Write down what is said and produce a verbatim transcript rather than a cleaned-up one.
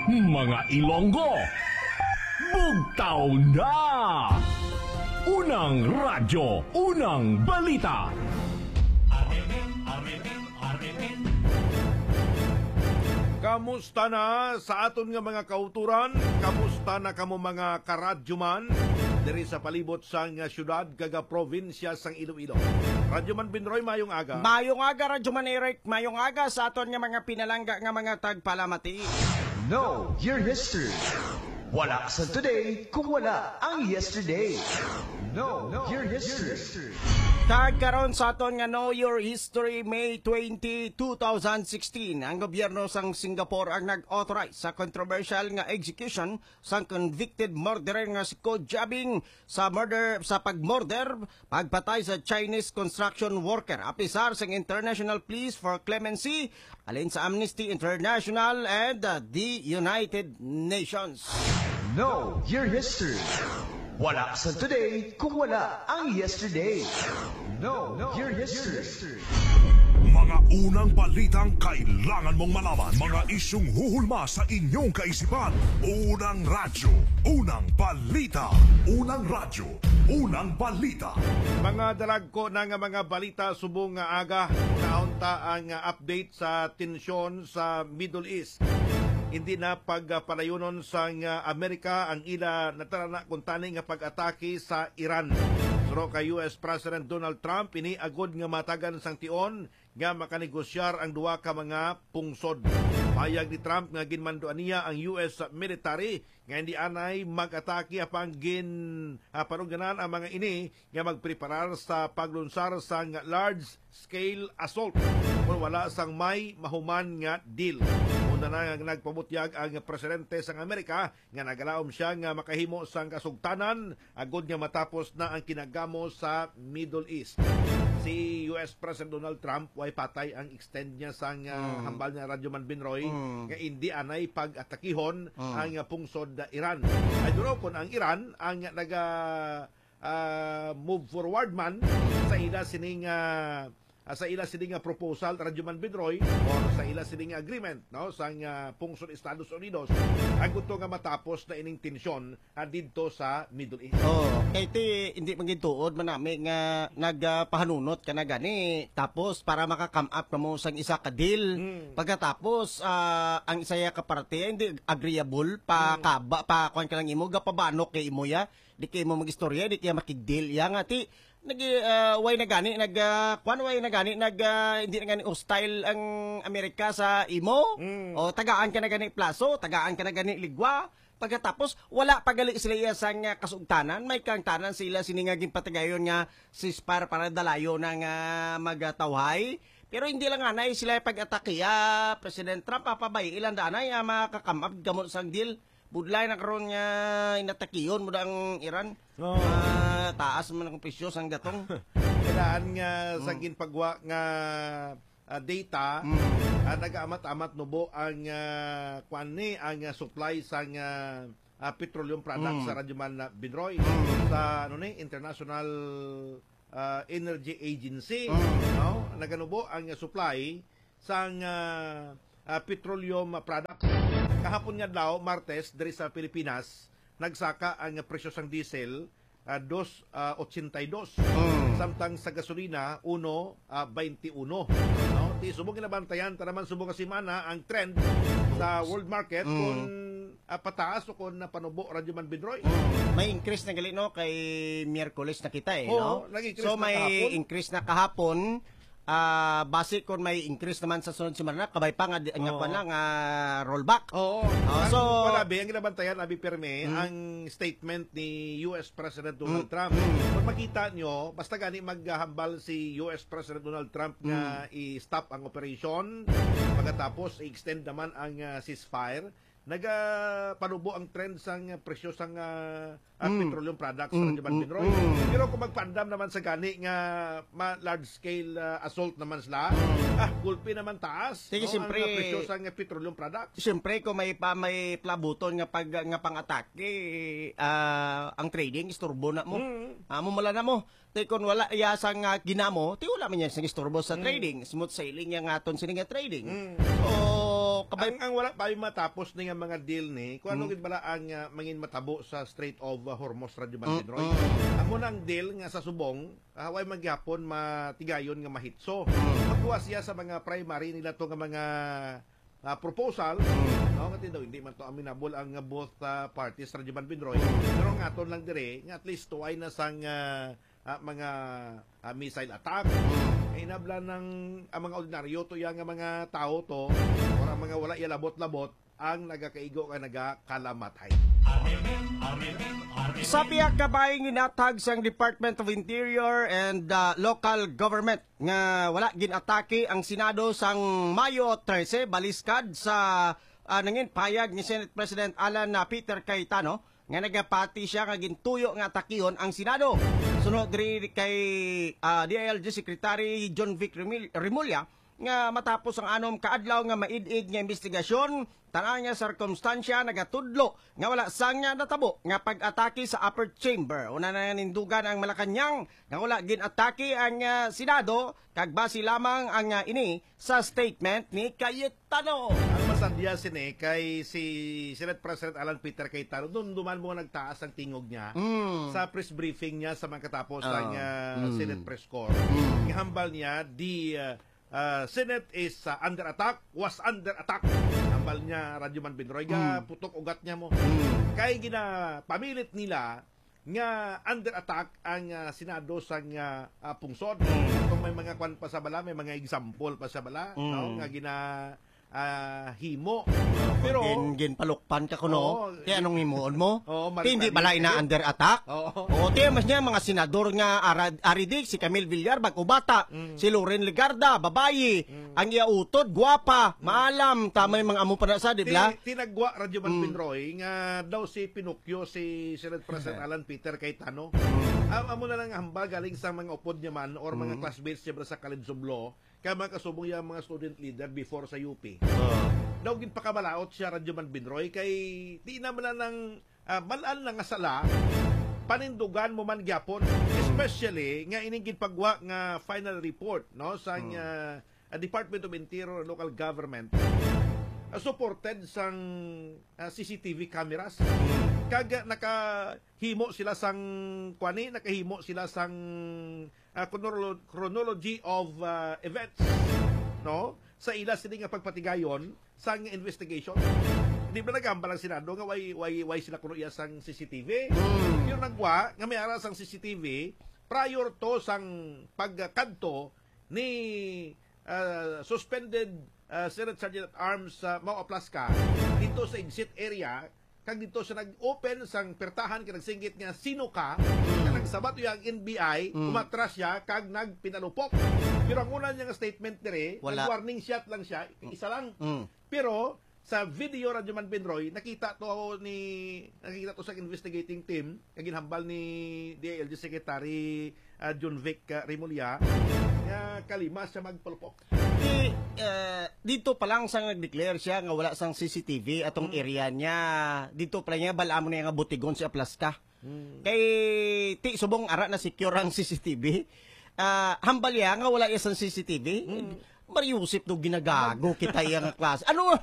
Mga Ilonggo, bugtaw na! Unang radyo, unang balita. Kamusta na sa aton nga mga kauturan? Kamusta na kamo, mga karadyoman, diri sa palibot sang syudad kag probinsya sang Iloilo? Radyoman Binroy, mayong aga. Mayong aga, Radyoman Eric. Mayong aga sa aton nga mga pinalangga nga mga tagpalamati. Know your history. Wala sa today kung wala ang yesterday. Know your history. Kag karon sa aton nga Know Your History, May twenty, two thousand sixteen, ang gobyerno sang Singapore ang nag-authorize sa controversial nga execution sang convicted murderer nga si Ko Jabing sa murder, sa pagmurder, pagpatay sa Chinese construction worker, apisar sang international pleas for clemency, alin sa Amnesty International and, uh, the United Nations. Know your history. Wala sa today kung wala ang yesterday. Know your history. Mga unang balitang kailangan mong malaman. Mga isyung huhulma sa inyong kaisipan. Unang radyo, unang balita. Unang radyo, unang balita. Mga dalagko na nga mga balita subong nga aga, kaunta ang update sa tensyon sa Middle East. Hindi na pagpalayunon sang Amerika ang ila natarana kuntani nga pag-atake sa Iran. Suro kay U S President Donald Trump, ini agod nga matagan sang tion nga makanegosyar ang duha ka mga pungsod. Payag ni Trump nga ginmanduan niya ang U S military nga hindi anay mag-atake apang gin, ah, panugdanan ang mga ini nga magpreparar sa paglunsar sang large scale assault kon wala sang may mahuman nga deal. Una na nga nagpabutyag ang presidente sang Amerika nga nagalaom siya nga makahimo sang kasugtanan agod nga matapos na ang kinagamo sa Middle East. Si U S President Donald Trump, way patay ang extend niya sang, ah, Mm. hambal niya, Radyo Man Binroy, Mm. nga indi anay pag-atakihon Mm. ang, ah, pungsod, ah, Iran. Ay duro kon ang Iran ang naga, ah, move forward man sa ila sining, ah, ah, sa ila sini nga proposal, Radyo Man Binroy, or sa ila sini nga agreement, no, sang, ah, pungsod Estados Unidos, ang gusto nga matapos na ining tensyon, ah, didto sa Middle East. Oh, kay ti, hindi man gid tuod man nami nga nagpahanunot ka na gani, tapos para maka-come up kamo sang isa ka deal. Mm. Pagkatapos, ah, ang isa ya ka parte, hindi agreeable, pa Mm. kaba, pa kuwan ka lang imo, gapabanok kay imo ya, di kay imo mag-istorya, di kaya makig-deal ya nga ti, nag, ah, way na gani, nag, ah, kuwan, way na gani, nag, ah, hindi na gani hostile ang Amerika sa imo. Mm. O, tagaan ka na gani plaso, tagaan ka na gani ligwa. Pagkatapos, wala pa gali sila iya sang, ah, kasugtanan, may kangtanan sila sini nga ginpatigayon nga ceasefire para dalayo na nga magatawhay. Pero hindi lang anay sila pag-atake, ah, President Trump, papabay ilan danay, ah, makakamab gamot sang deal. Budlay na karon nga inatakiyon mo na ang Iran. Oo. Ah, taas man ang presyo sang gatong. Kailangan nga sa Mm. ginpagwa nga, ah, data, Mm. ah, nag-amat-amat nubo ang, ah, kwan ni, ang, ah, supply sang, ah, ah, petroleum products Mm. sa Radyo Man na Binroy Mm. sa, ano ni, International, ah, Energy Agency, Mm. no? Naganubo ang, ah, supply sang, ah, ah, petroleum, ah, products. Kahapon nga adlaw, Martes, diri sa Pilipinas, nagsaka ang presyo sang diesel, ah, dos, ah, ochenta y dos. Mm. Samtang sa gasolina, uno, ah, bainti uno. No? Ti subong ginabantayan ta naman subong nga semana ang trend sa world market Mm. kung, ah, pataas o kung napanubo, Radyo Man Binroy. Mm. May increase na gali, no, kay Miyerkules na kita, eh, Oo, no? nag-increase So, na may kahapon. increase na kahapon. Ah, base kon may increase naman sa sunod semana, kabay pa nga di, nga Oo. kwan lang, ah, rollback. Oo. Ah, Ang so wala, be, ang ginabantayan, abi, permi, Mm. ang statement ni U S President Donald Mm. Trump. Mm. Kung makita nyo, basta gani maghambal si U S President Donald Trump nga Mm. i-stop ang operation, pagkatapos i-extend naman ang, ah, ceasefire, nagapanubo ang trend sang presyo sang, ah, ah, Mm. petroleum products Mm, sa Radyo Man mm, Binroy. mm. Pero kung magpaandam naman sa gani nga ma-, large scale, ah, assault naman sila, Mm. ah, gulpi naman taas, Sige, no, siyempre, ang, ah, presyo sang petroleum products. Siyempre, kung may pa, may plabuton nga pag, nga pang-atake, ah, ang trading, istorbo na mo. Mm. Amo mala na mo. Ti kon wala iya sang, ah, ginamo, ti wala man niya sang istorbo sa Mm. trading. Smooth sailing yang aton sini nga trading. Mm. So, Kabay- Ang, ang wala pa matapos ni nga mga deal ni, kung ano Mm. gid bala ang, ah, mangin matabo sa Strait of, ah, Hormuz, Radyo Mm, Manbin Roy. mm. Amo na ang deal nga sa subong, ah, way maghapon matigayon nga mahitso. Mm. Magkuha siya sa mga primary nila to nga mga, ah, proposal, Mm. no, nga daw hindi man to amenable ang, ah, both, ah, parties, Radyo Manbin Roy. Mm. Pero ang aton lang dire, nga at least to ay na sang, ah, ah, mga, ah, missile attack. Mm. Hinablan ng, ang mga ordinaryo to, yang mga tao to, or ang mga wala iya labot-labot, ang nagakaigo nga nagakalamatay. Sa pihak kabay nga ginhatag sang Department of Interior and, ah, Local Government nga wala ginatake ang Senado sang Mayo trese, baliskad sa, ah, nangin pahayag ni Senate President Alan, ah, Peter Cayetano, nga nagapati siya nga gintuyo nga atakihon ang Senado. Sunod diri kay, ah, D I L G Secretary John Vic Remil-, Remulla, nga matapos ang anom ka adlaw nga maid-id nga investigasyon, tanan nga sirkumstansya nagatudlo nga wala sang natabo nga pag-atake sa upper chamber. Una na nindugan ang Malacañang nga wala gin-atake ang, ah, Senado, kag base lamang ang, ah, ini sa statement ni Cayetano. Ang masadya sini kay si Senate President Alan Peter Cayetano, dumduman mo nga nagtaas ang tingog niya Mm. sa press briefing niya sa mga katapos Ah. ang, ah, Mm. Senate press corps. Mm. Nga hambal niya, the, ah, ah, Senate is, ah, under attack, was under attack. Hambal niya, Radyo Manbin Roy, ga Mm. putok ugat niya mo. Mm. Kay ginapamilit nila nga under attack ang, ah, Senado sang, ah, ah, pungsod. Mm. Kung may mga kwan pa sa bala, may mga example pa sa bala, Mm. no, nga gina, ah, himo. Pero gin-, ginpalukpan ka kuno. Oo. Kaya anong himuon mo? Oo, Ti, hindi mali bala ina ni. Under attack? Oo. Oo, ti, mas niya mga senador nga ara-, ari di, si Camille Villar, bag-o bata, Mm. si Loren Legarda, babayi, Mm. ang iya utod, gwapa, Mm. maalam, ta may mga amo pa na sa, di Ti-, bala? Tinagwa, Radyo Manbin Mm. Roy, nga daw si Pinocchio, si Senate President Alan Peter Cayetano. Mm. Am-, amo na lang hambal galing sa mga upod niya man or mga Mm. classmates niya bala sa College of Law, kay mga kasubong niya mga student leader before sa U P. Ah. Daw ginpakamalaot siya, Radyo Manbin Roy, kay di na man na nang, ah, mal-an na nga sala, panindugan mo man gyapon. Mm. Especially nga ining ginpagwa nga final report, no, sa, Mm. ah, ah, Department of Interior and Local Government, ah, supported sang, ah, C C T V cameras. Mm. Kag, ah, nakahimo sila sang, kuani, nakahimo sila sang, ah, chronolo-, chronology of, ah, events, no? Sa ila sini nga pagpatigayon sang investigation. Di ba nagambal ang Senado nga way, way, way sila kuno iya sang C C T V? Mm. Yung nagwa nga may ara sang C C T V prior to sang pagkadto ni, ah, suspended, ah, Senate Sergeant at Arms, ah, Mau Aplasca dito sa exit area, kag dito siya nag-open sang pertahan kag nagsinggit nga, "Sino ka?" Kag nagsabat iya ang N B I, Mm. umatras siya kag nagpinalupok. Pero ang una niya nga statement diri, Wala. nag-warning shot lang siya, isa lang. Mm. Pero sa video, Radyo Manbin Roy, nakita to ni, nakita to sa investigating team, nga ginhambal ni D I L G Secretary, ah, John Vic, ah, Remulla, nga kalima siya magpalupok. Di, ah, dito pa lang sa nag-declare siya nga wala sang C C T V atong Mm. area niya, dito pa lang niya, bala mo na nga butigon si Aplasca. Mm. Kay, ti, subong ara na secure ang C C T V. Ah, hambal niya nga wala iya sang C C T V. Mm. Mario Joseph, do ginagago kita iya nga klase. Ano?